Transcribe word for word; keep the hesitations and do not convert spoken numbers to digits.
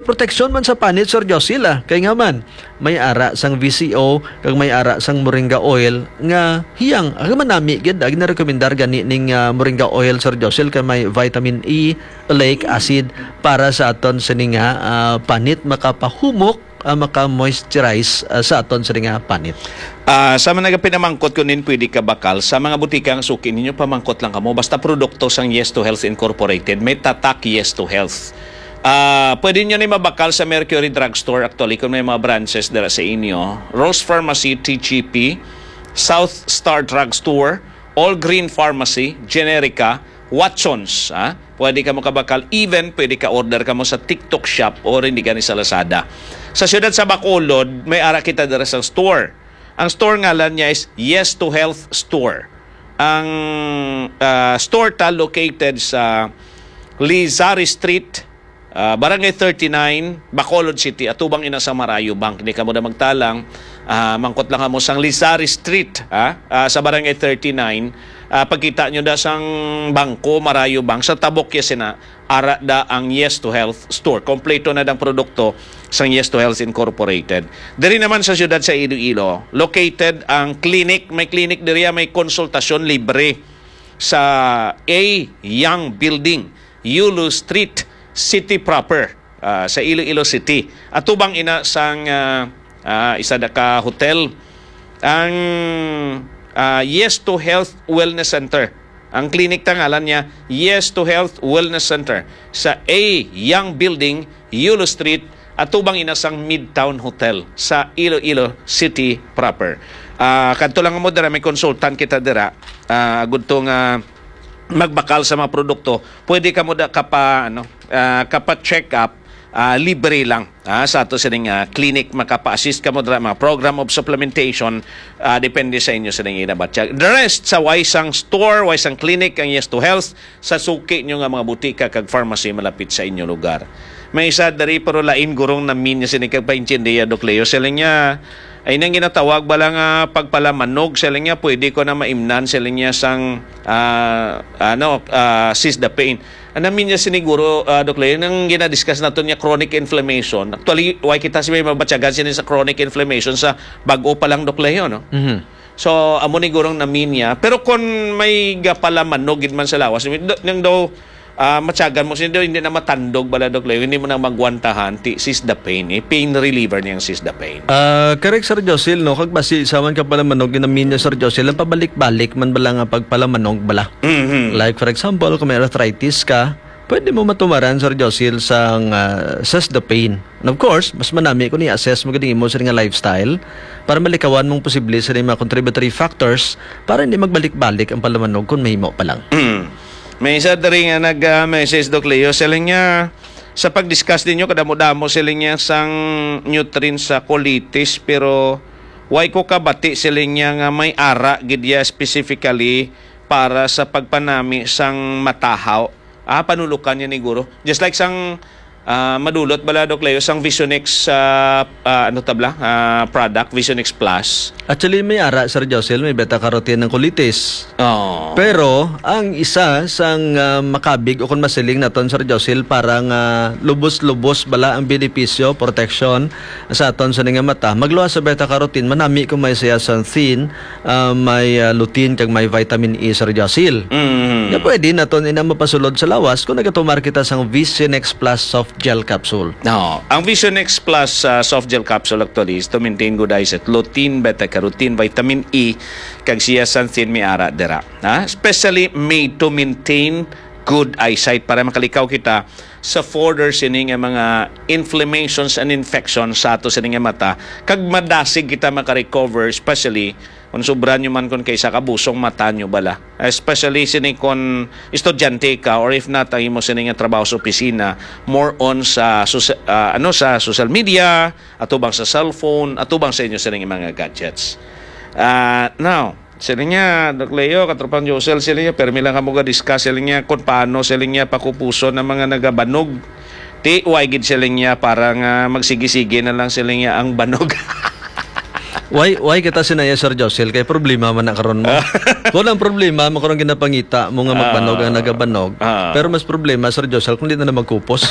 Proteksyon man sa panit, Sir Josil, ah. Kay nga man, may ara sang V C O kag may ara sang moringa oil nga hiyang, ah, manami gid, ah, ginarekomendar gani ning, ah, moringa oil, Sir Josil, kay may vitamin E, oleic acid para sa aton sini nga, ah, panit, makapahumok, ah, maka-moisturize, ah, sa aton sini nga panit. Ah, sa mga nagapinamangkot kung nin pwede ka bakal, sa mga butika ang suki ninyo, pamangkot lang kamo. Basta produkto sang Yes to Health Incorporated, may tatak Yes to Health. Ah, pwede nyo ni mabakal sa Mercury Drugstore, actually, kung may mga branches dira sa inyo. Rose Pharmacy, T G P, South Star Drugstore, All Green Pharmacy, Generica, Watsons, ha? Pwede ka mo kabakal. Even, pwede ka order ka mo sa TikTok Shop o rin di gani sa Lazada. Sa siyudad sa Bacolod, may ara kita dira sa store. Ang store ngalan niya is Yes to Health Store. Ang, ah, store ta located sa Lizari Street, ah, Barangay thirty-nine, Bacolod City, atubang ina sa Marayo Bank. Hindi ka mo na magtalang, ah, mangkot lang kamo sang Lizari Street, ah, ah, sa Barangay thirty-nine. Ah, pagkita nyo da sang bangko, Marayo Bank, sa tabok ya sina, ara da ang Yes to Health Store. Kompleto na dang produkto sang Yes to Health Incorporated. Diri naman sa siyudad sa Iloilo, located ang clinic. May clinic diri, ah, may konsultasyon libre sa A Young Building, Yulo Street, City Proper, ah, sa Iloilo City. Atubang ina sang, ah, ah, isa da ka hotel, ang, ah, Yes to Health Wellness Center. Ang clinic ta ngalan niya, Yes to Health Wellness Center, sa A Young Building, Yulo Street, atubang ina sang Midtown Hotel sa Iloilo City proper. Ah, kadto lang mo dira, may consultant kita dira. Ah, agud to nga magbakal sa mga produkto, pwede ka mo da kapa, ano, ah, kapa-check up, ah, libre lang, ah, sa ato sining, ah, clinic. Makapa-assist ka mo dira, mga program of supplementation, ah, depende sa inyo sining inabatyag. The rest, sa way sang store, way sang clinic, ang Yes to Health, sa suki nyo nga mga butika kag pharmacy malapit sa inyo lugar. May isa diri, pero lain gurong namin niya sini kag paintindiya, Doc Leo. Sila niya, ay nang ginatawag bala nga pagpalamanog, sila niya, pwede ko na maimnan, sila niya sang, ah, ano, ah, seize the pain. Ang namin niya siniguro, ah, Doc Leo, nang ginadiscuss nato niya chronic inflammation. Actually, why kita si may mabatyagan sini sa chronic inflammation sa bag-o pa lang, Doc Leo, no? Mhm. So, amo ni gurong namin niya. Pero kung may gapalamanog gid man sa lawas, do-, nang daw, ah, matyagan mo, siya daw hindi na matandog bala, Doc Leo, hindi mo na magwantahan, ti, seize the pain, eh. Pain reliever niyang seize the pain. Ah, correct, Sir Josil, no? Kag basi sa man ka palamanog, namin niya, Sir Josil, ang pabalik-balik man bala nga pagpalamanog bala. Mhm. Like, for example, kung may arthritis ka, pwede mo matumaran, Sir Josil, sang, ah, seize the pain. And of course, mas manami kung i-assess mo gid ang imo sa nga lifestyle para malikawan mong posible sa mga contributory factors para hindi magbalik-balik ang palamanog kung mahimo pa lang. Mm. May isa diri nga nag, ah, message, Doc Leo. Siling niya, sa pag-discuss ninyo, kadamo-damo siling niya sang nutrients sa colitis, pero why ko kabati siling niya nga may ara gid ya specifically para sa pagpanami sang matahaw. Ah, panulukan niya ni guro. Just like sang, ah, madulot bala, Doc Leo, sang Visionex, ah, ah, ano tabla? Ah, product, Visionex Plus. Actually, may ara, Sir Josil, may beta-carotene ng colitis. Oo. Pero, ang isa sang, ah, makabig o kung masiling naton, Sir Josil, para nga lubos-lubos bala ang benepisyo, protection sa aton sa nga mata. Magluwas sa beta-carotene, manami kung may zeaxanthin, ah, may, ah, lutein kag may vitamin E, Sir Josil. Mhm. Nga pwede naton ina mapasulod sa lawas kung nagatumar kita sang Visionex Plus Soft Gel Capsule. No, ang Visionex Plus, ah, Soft Gel Capsule actually is to maintain good eyesight, lutein, beta-carotene, vitamin E, kag zeaxanthin may ara dira. Ha? Especially made to maintain good eyesight para makalikaw kita sa further sini nga mga inflammations and infections sa ato sini nga mata, kag madasig kita makarecover, especially kung sobra nyo man kung kaysa kabusong mata nyo bala. Especially sini kung estudyante ka, or if not, ang imo sini nga trabaho sa opisina, more on sa sosa-, ah, ano, sa social media, atubang sa cellphone, atubang sa inyo sini nga mga gadgets. Ah, now, sila niya, Doc Leo, Katropang Josel, sila niya, permi lang kamo ga-discuss, sila niya, kung paano sila niya pakupuson ang mga nagabanog. Ti, why gid sila niya, para nga magsige-sige na lang sila niya ang banog. Why, why kita sinaya, Sir Josel? Kay problema man na karon mo. Kung ang problema mo karon ginapangita mo nga magbanog ang nagabanog. Ah. Pero mas problema, Sir Josel, kung di na na magkupos.